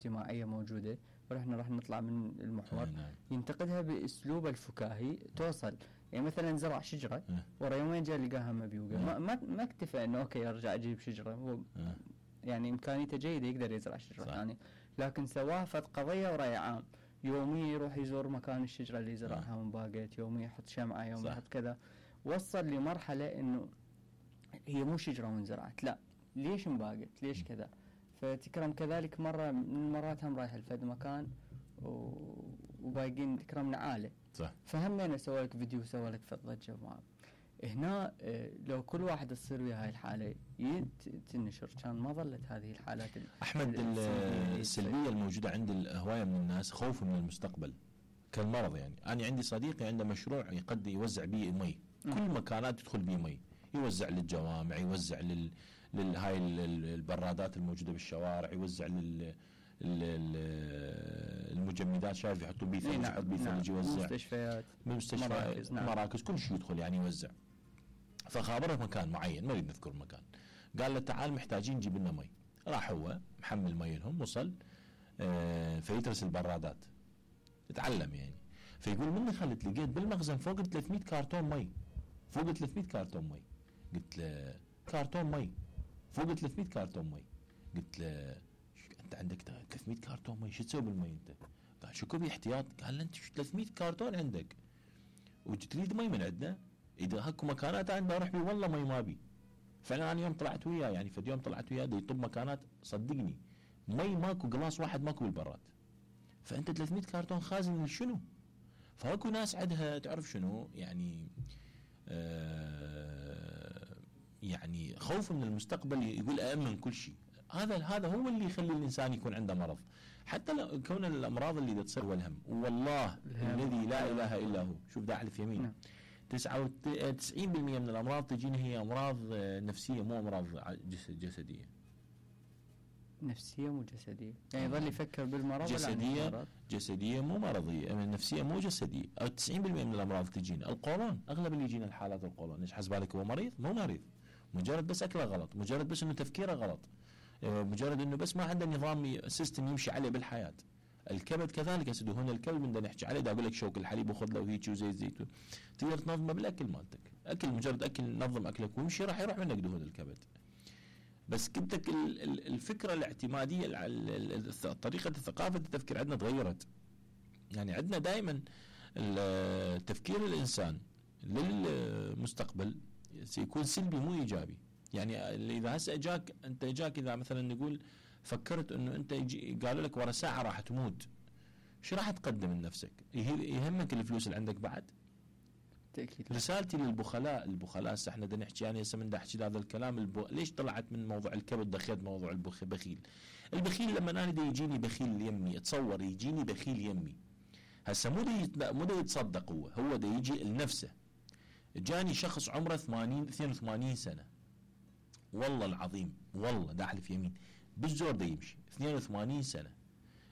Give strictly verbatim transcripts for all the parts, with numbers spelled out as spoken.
اجتماعية موجودة ونحن راح نطلع من المحور نعم. ينتقدها باسلوبه الفكاهي توصل. يعني مثلا زرع شجرة أه. ورا يومين جاء لقاها مبيوقة، أه. ما ما ما اكتفى انه اوكي ارجع اجيب شجرة، هو أه. يعني امكانيته جيدة يقدر يزرع شجرة صح. ثانية، لكن سواها فد قضية وراي عام، يوميا يروح يزور مكان الشجرة اللي زرعها من باقيت، يوميا يحط شمعة، يوميا صح. يحط كذا. وصل لمرحلة انه هي مو شجرة وانزرعت، لا ليش انباقت، ليش كذا. فتكرم كذلك مرة من المرات هم رايح لفد مكان و- وباقين تكرم نعاله، صح. فهمنا سوى لك فيديو وسوى لك ضجة معه. هنا آه، لو كل واحد تصير ويا هاي الحالة يت- تنشر كان ما ظلت هذه الحالات ال- أحمد ال- السلبية. السلبية الموجودة عند الهواية من الناس خوف من المستقبل كالمرض. يعني أنا عندي صديقي عنده مشروع يقد يوزع به مي، كل مكانات يدخل به مي، يوزع للجوامع، يوزع لل للهاي البرادات الموجودة بالشوارع، يوزع لل المجمدات، شايف يحطوا بيه ثلج، يحط بيه ثلج، يوزع مستشفيات، مستشفى مراكز, نعم. مراكز كل شيء يدخل يعني يوزع. فخابره مكان معين ما نريد نذكر مكان، قال له تعال محتاجين نجيب لنا مي. راح هو محمل مي لهم، وصل آه فيترس البرادات يتعلم يعني. فيقول مني خلت لقيت بالمخزن فوق ثلاثمية كارتون مي، فوق ثلاثمية كارتون مي. قلت له كارتون مي فوق ثلاثمية كارتون مي. قلت له انت عندك ثلاثمية كارتون مي شو تسوي بالمي انت؟ قال شو كبي احتياط؟ قال له انت ثلاثمية كارتون عندك وتريد مي من عندنا؟ اذا هاكو مكانات انا بروح بي والله مي ما بي. فعلا انا يوم طلعت وياه يعني فد يوم طلعت وياه يطب مكانات صدقني مي ماكو، قلاص واحد ماكو بالبراد. فانت ثلاثمية كارتون خازن شنو؟ فاكو ناس عندها تعرف شنو يعني آه يعني خوف من المستقبل، يقول أأمن كل شيء. هذا هذا هو اللي يخلي الإنسان يكون عنده مرض، حتى لو كون الأمراض اللي تصير والهم. والله الذي لا إله إلا هو، شوف دا أحلف يمين نعم. تسعة وتسعين بالمئة من الأمراض تجينا هي أمراض نفسية مو أمراض جسد جسدية. نفسية مو جسدية، يعني يظل يفكر بالمرض. جسدية جسدية مو مرضية، النفسية مو جسدية. أو تسعين بالمئة من الأمراض تجينا. القولون أغلب اللي يجينا الحالات القولون، إيش حسب بالك هو مريض؟ مو مريض، مجرد بس أكله غلط، مجرد بس إنه تفكيره غلط، مجرد إنه بس ما عنده نظام سيستم يمشي عليه بالحياة. الكبد كذلك يا سيدي، هنا الكبد بدنا نحكي عليه، دا أقول لك شوك الحليب وخذ له وهيك وزيت زيتون، تقدر تنظمه بالأكل مالتك، أكل مجرد أكل نظم أكلك وامشي راح يروح منك دهون الكبد. بس كبتك الفكرة الاعتمادية، طريقة الثقافة التفكير عندنا تغيرت. يعني عندنا دائما تفكير الإنسان للمستقبل سيكون سلبي مو إيجابي. يعني إذا هسه جاك أنت جاك إذا مثلا نقول فكرت إنه أنت قالوا لك ورا ساعة راح تموت، شو راح تقدم لنفسك؟ يهمك الفلوس اللي عندك بعد؟ تأكيد. رسالتي للبخلاء، البخلاء هسه احنا بدنا نحكي، يعني هسه من احكي هذا الكلام الب... ليش طلعت من موضوع الكبد دخلت موضوع البخيل. البخيل لما انا دا يجيني بخيل يمي، اتصور يجيني بخيل يمي هسه مو دا مو دا يتصدق، هو هو دا يجي لنفسه. جاني شخص عمره ثمانين اثنين وثمانين سنة، والله العظيم والله دا احلف يمين بالزور دا يمشي اثنين وثمانين سنة،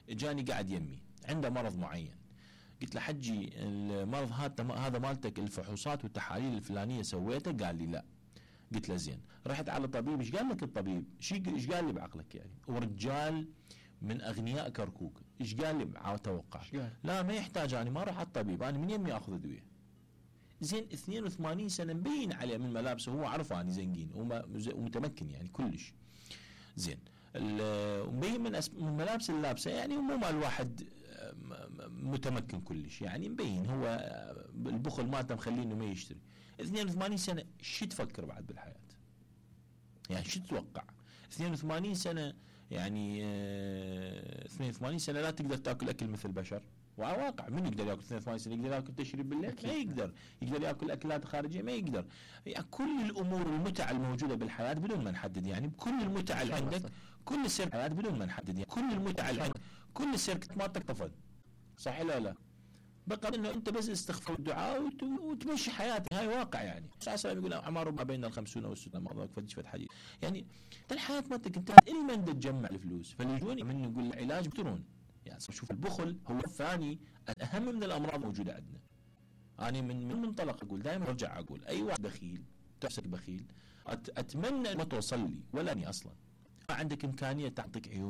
جاني قاعد يمي عنده مرض معين. قلت له حجي المرض هذا هذا مالتك الفحوصات والتحاليل الفلانيه سويتها؟ قال لي لا. قلت له زين، رحت على الطبيب، ايش قال لك الطبيب؟ ايش قال لي بعقلك يعني؟ ورجال من اغنياء كركوك، ايش قال لي اتوقع؟ لا ما يحتاج، انا ما اروح على الطبيب، انا من يمي اخذ ادويه. زين اثنين وثمانين سنه مبين عليه من ملابسه، هو عرفه اني زنقين ومتمكن يعني كلش زين، ومبين من, من ملابس اللابسه يعني مو مال واحد متمكن كلش، يعني مبين هو البخل مالته مخليه انه ما يشتري. اثنين وثمانين سنه شو تفكر بعد بالحياه؟ يعني شو تتوقع؟ اثنين وثمانين سنه يعني اه اثنين وثمانين سنه لا تقدر تاكل اكل مثل البشر، وواقع من يقدر ياكل اثنين وثمانين سنه؟ يقدر ياكل تشرب بالليل؟ ما يقدر. يقدر ياكل اكلات خارجيه؟ ما يقدر. يعني كل الامور المتع الموجوده بالحياه بدون ما نحدد، يعني كل المتع اللي عندك، كل سير الحياه بدون ما نحدد، يعني كل المتع اللي عندك، كل السيركت مالتك طفل، صح لا لا؟ بقى انه انت بس استغفر الدعاء وت... وتمشي حياتك، هاي واقع. يعني الرسول يقول اعمار ما بين الخمسون والستون، ما ضاق فدش فد حديث. يعني الحياه مالتك انت الا من تجمع الفلوس، فاللي من يقول العلاج بترون. يعني شوف البخل هو الثاني الاهم من الامراض الموجوده عندنا. انا من من منطلق اقول دائما ارجع اقول اي واحد بخيل تحسك بخيل، أت... اتمنى ما توصل لي ولا اني اصلا ما عندك امكانيه تعطيك عيون